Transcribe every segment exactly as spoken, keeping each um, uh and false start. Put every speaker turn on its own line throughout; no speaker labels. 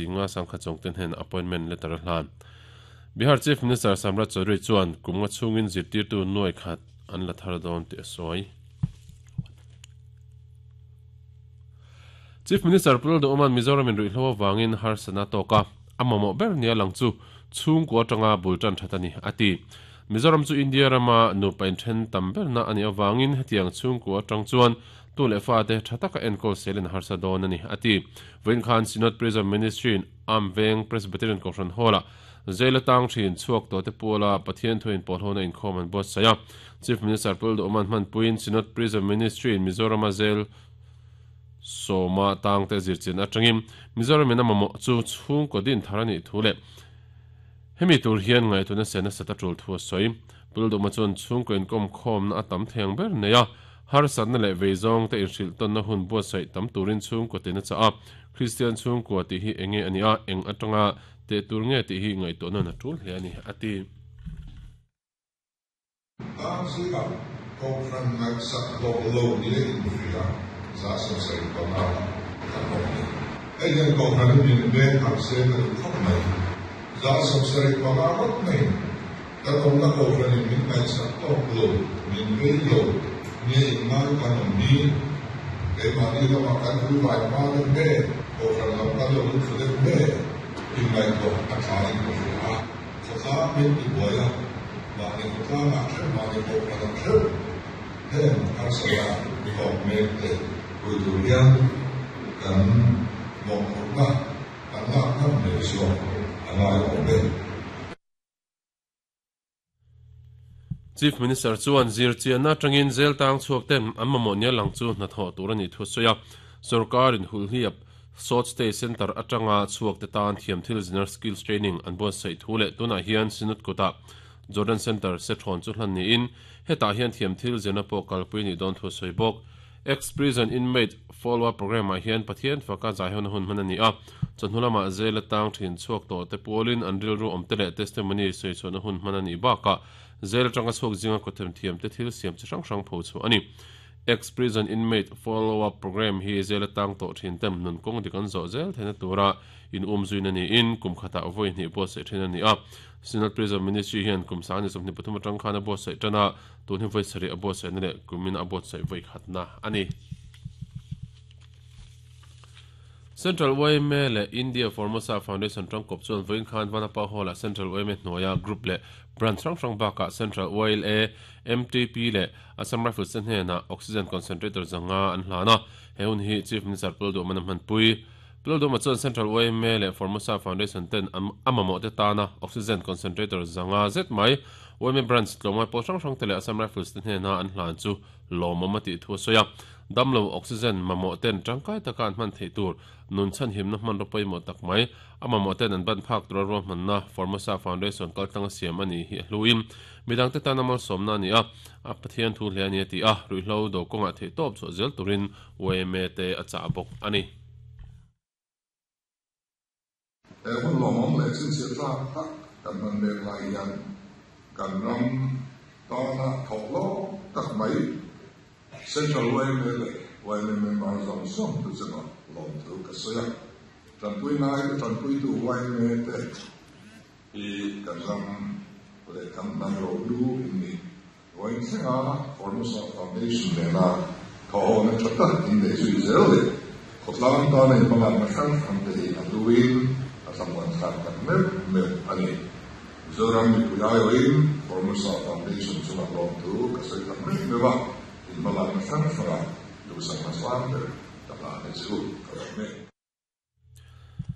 Nga sangkha chongten hen appointment letter hlan. Bihar Chief Minister Samrat Chaudhary chuan kumnga chungin zirtir tu nuai khat an la thar dawn ti sawi. Chief Minister Puldo Oman Mizoram in ruihhlo wangin harsana toka amamo ber nia lang chu chung ko atanga bultan thatani ati. Mizoram chu India rama nu pain then tam ber na ani awangin hetiang chung ko atang chuan tu le fa te thataka enkol selen harsa dawn ani ati. Vein Khan Synod Prison Ministry in Amveng Presbyterian Conference Hall Zela tang thin chuak to te pula Pathian thuin polhona in khom an bot saya. Chief Minister Puldo Oman man puin Synod Prison Ministry in Mizoram zel soma tang te zirchin atangim Mizoram in amamo chu chung ko din tharani thule hemi tur hian ngai tuna sena sata tul thu soi. Puldo ma chon chung ko in kom khom na atam theng ber neya har san na le veizong te in hril ton na hun bo sai tam turin chung ko te na cha a Christian chung ko ti hi enge ania eng atanga te tur nge ti hi ngai to na na tul hle ani ati.
Tang si ka ko fran ngai sak lo lo ni in fria za so sai pa na ka ko ni e yen ko fran ni be har se na khop mai za so sai pa na rot mai ka ko na ko fran ni min ngai sak lo lo min ve lo ni ngai ka no ni e ma ni lo ma kan hu vai ma de me ko fran lo ka lo lu de me in ngai ko a tha in ko fria so sa min ti boya ma ni ko ta ma che ma ni ko fran che hen har sa ya ko me te ku du rian kan mo ko na kan na na me so angai ko be.
Chief Minister chuan zir chian atangin zel tang chuak ten amma nia lang chu na tho turani thu soya sarkar in hulhiap South State Center atanga chuak te tan thiam thil general skills training an bo sei thule tuna hian sinut kota Jordan Center se thon chu hlan ni in heta hian thiam thil zena po kalpui ni don thu soi bok. Ex prison inmate follow up program a hian Pathian faka zaihon hun manani a chonhulama zel tang thin chuak to te polin anril ru omtele testimony sei chona hun manani ba ka zel tanga chuak jinga kothem thiam te thil siam chi hrang hrang pho chu ani. Ex prison inmate follow up program hi zel tang to thin tem nun kong dikan zo zel thena tura in um zuina ni in kum khata avoi ni bo se thena ni a Synod Prison Ministry hian kum sa ni somni pathum atang khana bo se tana tun hi voi sari abo se ne kumin abo se voi khatna ani. Central Y M A le India Formosa Foundation tang kop chuan voin khan vanapa hall Central Y M A hnuaia group le branch hrang hrang baka Central Y L A M T P le Assam Rifles te hnena oxygen concentrator zanga an hlana he hun hi Chief Minister Puldo man pui Puldo ma chuan Central Y M A le Formosa Foundation ten amamo te tana oxygen concentrator zanga zet mai Y M A branch tlomai pawh hrang hrang te le Assam Rifles te hnena an hlan chu lawmawm ti thu soya damlo oxygen mamo ten tangkai taka an hman thei tur nun chan himna hman ropui mo tak mai amamo ten an ban phak tur ro hmanna Formosa Foundation kaltanga siam ani hi hluin midang te tanamal somna ani a a Pathian thu hle ani ti a ruihhlo do kawnga thei tawp chu zel turin Y M A te a cha bawk ani.
E hun lawmawm leh chin chil tlak tak kan man mek lai hian kan ram tana thawk lo tak mai Central Y M A le Y M A member zawng zawng tu chunga lawm thu ka sawi a tanpui ngai te tanpui tu Y M A te hi kan ram le kan hnam ro lu in ni vawiin thlenga Formosa Foundation nena thawhawna tha tak in nei zui zel le khawtlang tana in hmalakna hrang hrang te hi a hluin a thlamuan thlak tak meuh meuh ani. Mizoram mipui aiawhin Formosa Foundation chunga lawm thu ka sawi tak meuh meuh a in hmalakna hrang hranga duhsakna sang ber ka hlana chu ka lo mek.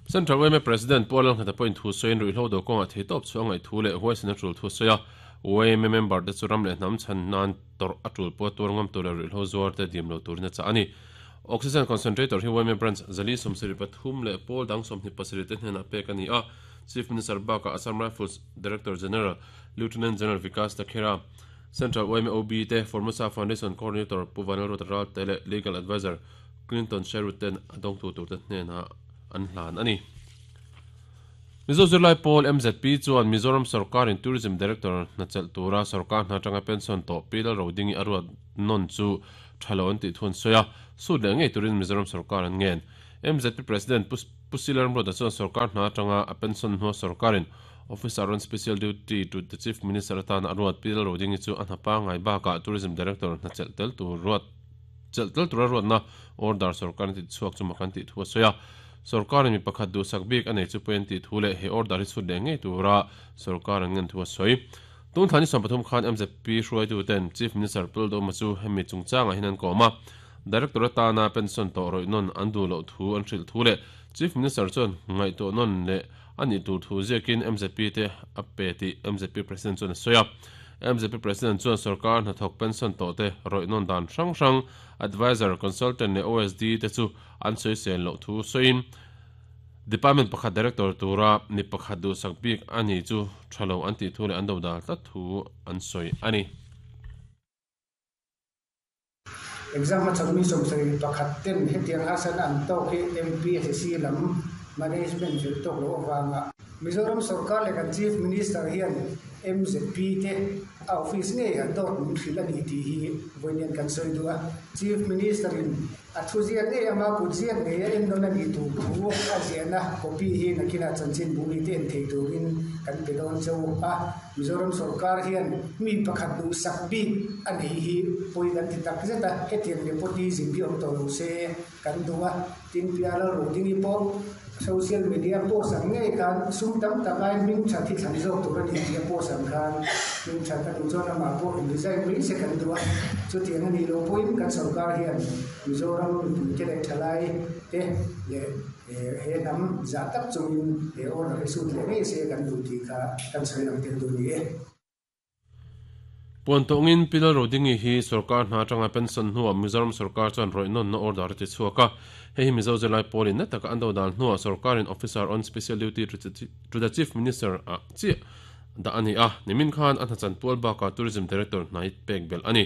Central Y M A President Paul Nghata point thu sawiin ruihhlo do kawnga thei tawp chu angai thu leh huaisena tul thu sawi a Y M A member te chu ram leh hnam chhan nan tor a tul pawh tur ngam tur leh ruihhlo zuar te dim lo turin a cha ani. Oxygen concentrator hi Y M A branch zali sawmsarih pathum leh pawl dang sawmhnih pasarih te hnenah pek ani a. Chief Minister baka Assam Rifles Director General Lieutenant General Vikas Takhera Central Y M A O B te Formosa Foundation Coordinator Puvanal Rotaral te leh Legal Advisor Clinton Sherwood ten adong tu tur te hnena an hlan ani. Mizo Zirlai Pawl M Z P chuan Mizoram Sarkar in Tourism Director nachel tura sarkar hna tanga pension to pilal rodingi aruat non chu thalo an ti thun soya su le ngei turin Mizoram Sarkar an ngen. M Z P President Pusilar Mroda chuan sarkar hna atanga a pension hnuah sarkarin Officer on Special Duty to the Chief Minister atan a ruat Pi Lalrodingi chu a hna pangngai bakah Tourism Director hna chelh tel tur ruat chelh tel tura ruatna order sarkar an tih chhuak chu mak an tih thu a sawi a. Sarkarin mi pakhat duhsak bik a nei chu pawhin tih thu leh he order hi chhut leh ngei tura sarkar an ngen thu a sawi. Tun thla ni sawm pathum khan M Z P hruaituten Chief Minister Pu Lalduhoma chu hemi chungchangah hian an kawm a. Director atana pension tawh rawih nawn an duh loh thu an hrilh thu leh Chief Minister chuan ngaihtuah nawn leh a nih tur thu ziakin M Z P te a pe tih M Z P President chuan a sawi a. M Z P President chuan sarkar hnathawk pension tawh te rawih nawn dan hrang hrang Advisor, Consultant leh O S D te chu an sawi sel loh thu sawiin Department pakhat Director tura mi pakhat duhsak bik a ni chu tha lo an tih thu leh an do dal tlat thu an sawi a ni.
Exam a chawlhmi sawmsarih pakhat ten hetiang harsatna an tawk hi M P S C lam management fel tawk loh avanga Mizoram sarkar leh kan Chief Minister hian M Z P te a office ngei a dawt min hrilh a ni tih hi vawiin kan sawi duh a. Chief Minister in a thu ziak ngei ama kut ziak ngei a en dawn a nih tur thu a ziahna copy hi nakinah chanchin bu mi te en thei turin kan pe dawn chauh a. Mizoram sarkar hian mi pakhat duhsak bik a nei hi pawi kan ti tak zet a, hetiang nepotism hi awm tawh lo se kan duh a. Tin Pi Lalrodingi pawh social media post ang ngei khan sum tam tak aiin hming that hi thlan zawk tur a ni tih a post ang khan hming that a duh chuan amah pawh in resign mai se kan duh a. Chutiang a nih loh pawhin kan sarkar hian Mizoram mipuite leh thalai te leh he hnam zah tak chungin he order hi sut leh ngei se kan duh tih kha kan sawi lang tel duh ni e.
Puan tawngin Pi Lalrodingi hi sarkar hna atanga pension hnuah Mizoram sarkar chuan rawih nawnna order a ti chhuak a. Hei hi Mizo zirlai pawlin na taka an do dal hnuah sarkarin Officer on Special Duty to the Chief Minister ah chiah dah a ni a. Nimin khan a hnachan pual bakah Tourism Director hnai pek belh a ni.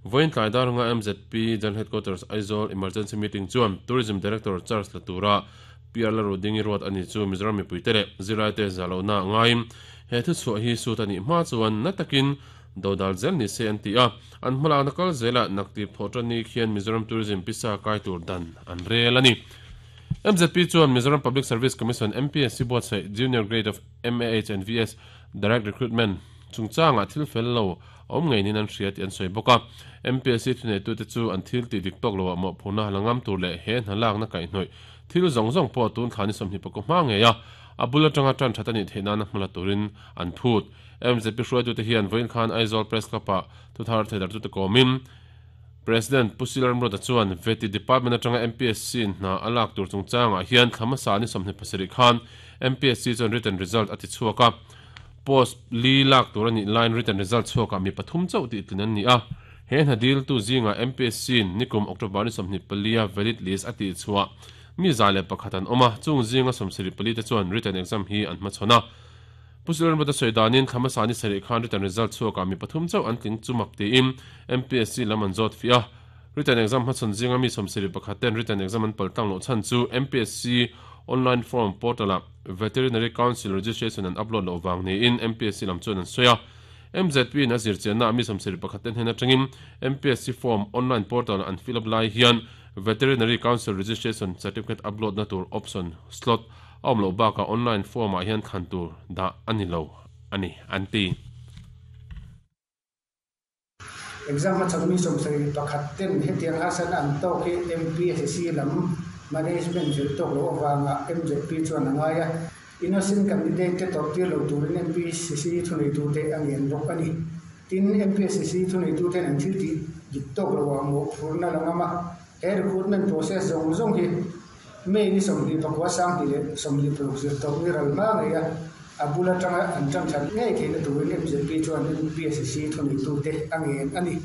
Vawiin tlai dar anga M Z P General Headquarters Aizawl Emergency Meeting chuan Tourism Director Charles Latura Pi Lalrodingi ruat a ni chu Mizoram mipuite leh zirlaite zah lohna ngaiin he thu chhuah hi sut a nih hma chuan na takin dodal zel ni se an ti a. An hmalakna kal zelah naktip thawh tan ni khian Mizoram Tourism pisa kai tur dan an rel a ni. M Z P chuan Mizoram Public Service Commission M P S C buatsaih Junior Grade of M A H and V S Direct Recruitment chungchangah thil fel lo a awm ngeinin an hria tih an sawi bawk a. M P S C thuneitute chu an thil tih dik tawk loah mawhphurhna la ngam tur leh he hna lakna kaihhnawih thil zawng zawng pawh tun thla ni sawmhnih pakua hma ngei a, a bul atanga tan that a nih theih nana hmala turin an phut. M Z P hruaitute hian vawiin khan Aizawl Press Club-ah thuthar theidartute kawmin President Pu Silarmroda chuan Veti Department atanga M P S C in hna a lak tur chungchangah hian thla hmasa ni sawmhnih pasarih khan M P S C chuan written result a ti chhuak a. Post li lak tur a nih laiin written result chhuakah mi pathum chauh tih tlin an ni a. He hna dil tu zingah M P S C in nikum October ni sawmhnih palia valid list a tih chhuah mi za leh pakhat an awm a, chung zinga sawmsarih pali te chuan written exam hi an hmachhawn a. Pu Silarmroda sawi danin thla hmasa ni sarih khan written result chhuakah mi pathum chauh an tling chumak tiin M P S C lam an zawt fiah a. Written exam hmachhawn zinga mi sawmsarih pakhat ten written exam an paltlang loh chhan chu M P S C online form portal-ah Veterinary Council registration an upload loh vang niin M P S C lam chuan an sawi a. M Z P in a zirchianna mi sawmsarih pakhat ten hnen atangin M P S C form online portal an fill up lai hian Veterinary Council registration certificate upload na tur option slot a awm loh bakah online form ah hian thlan tur dah a ni lo a ni an ti.
Exam a chawlhmi sawmsarih pakhat ten hetiang harsatna an tawk hi M P S C lam management fel tawk loh avanga M Z P chuan a ngai a. Innocent candidate te tawrh tir lo turin M P S C thuneitute a ngen bawk a ni. Tin M P S C thuneituten an thil tih dik tawk loah mawhphurhna la ngam a. He recruitment process zawng zawng hi May ni sawmhnih pakua sanghnih leh sawmhnih paruk zir tawk ni ral hma ngei a, a bul atanga an tan that ngei theihna turin M Z P chuan M P S C thuneitute a ngen a ni.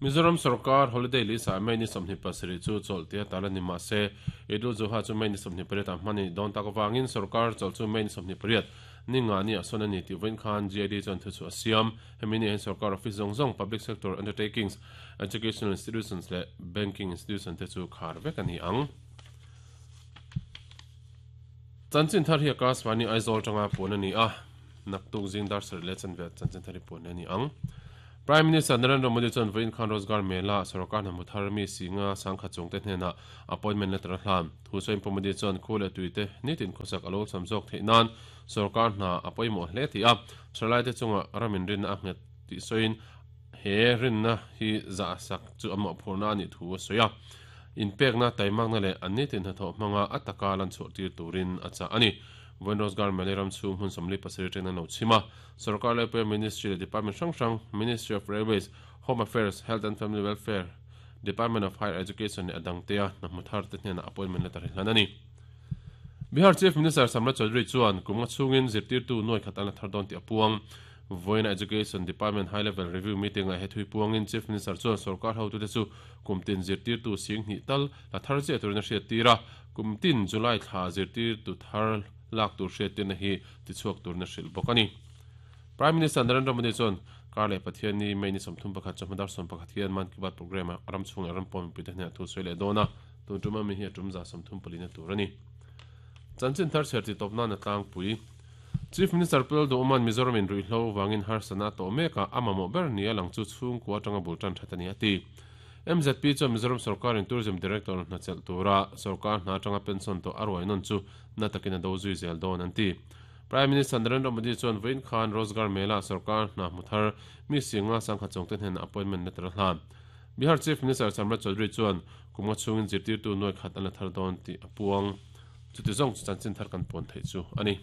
Mizoram sarkar holiday list-ah May ni sawmhnih pasarih chu chawlh tia tal a ni mah se, Eid-ul Zuha chu May ni sawmhnih pariatah hman a nih dawn tak avangin sarkar chawlh chu May ni sawmhnih pariat ni nga ni ah sawn a ni tih vawiin khan G I D chuan thu chu a siam. Hemi ni ah hian sarkar office zawng zawng, public sector undertakings, educational institutions leh banking institution te chu khar vek a ni ang. Chanchin thar hi Akashvani Aizawl tanga puan a ni a, naktuk zing dar sarih leh chanve chanchin thar hi puan a ni ang. Prime Minister Narendra Modi chuan vawiin khan Rozgar Mela sarkar hna hmu thar mi singa sangkhat chungte hnena appointment letter a hlan. Thu sawiin Pu Modi chuan khu leh tuite nitin khawsak a lo sam zawk theih nan sarkar hna a pawimawh hle ti a. Thalai te chunga ramin rinna a nghet tih sawiin he rinna hi zah sak chu a mawhphurhna a nih thu a sawi a. Inpekna taimakna leh an nitin hnathawh hmanga a taka lan chhuah tir turin a chah a ni. Vawiin Rozgar Mela ram chhung hmun sawmli pasarih atangin an lo chhim a. Sarkar Laipuia Ministry leh Department hrang hrang, Ministry of Railways, Home Affairs, Health and Family Welfare, Department of Higher Education leh a dangtea hna hmu thar te hnenah appointment letter hi hlan a ni. Bihar Chief Minister Samrat Chaudhary chuan kum nga chhungin zirtirtu nuai khat an la thar dawn tih a puang. Vawiin Education Department High Level Review Meeting ah he thui puangin Chief Minister chuan sarkar hotute chu kum tin zirtirtu sing hnih tal la thar chiah turin a hriat tir a. Kum tin July thla zirtirtu thar lak tur hriat tirna hi tichhuak turin a hrilh bawk a ni. Prime Minister Narendra Modi chuan kar leh Pathian ni May ni sawmthum pakhat chawhma dar sawm pakhat hian Mann Ki Baat program ah ram chhung leh ram pawn mipui te hnenah thu sawi leh dawn a. Tun tum ami hi a tum za sawmthum palina tur a ni. Chanchin thar chher ti tawp nan a tlangpui. Chief Minister Pu Lalduhuman Mizoram in ruihhlo vangin harsatna a tawh mek a, a mamawh ber ni a lang chu chhungkua atanga bul tan that a ni a ti. M Z P chuan Mizoram sarkarin Tourism Director hna chelh tura sarkar hna atanga pension tawh a ruai nawn chu na takin a do zui zel dawn an ti. Prime Minister Narendra Modi chuan vawiin khan Rozgar Mela sarkar hna hmu thar mi singa sangkhat chungte hnenah appointment letter a hlan. Bihar Chief Minister Samrat Chaudhary chuan kum nga chhungin zirtirtu nuai khat an la thar dawn tih a puang. Chuti zawng chu chanchin thar kan pawn theih chu a ni.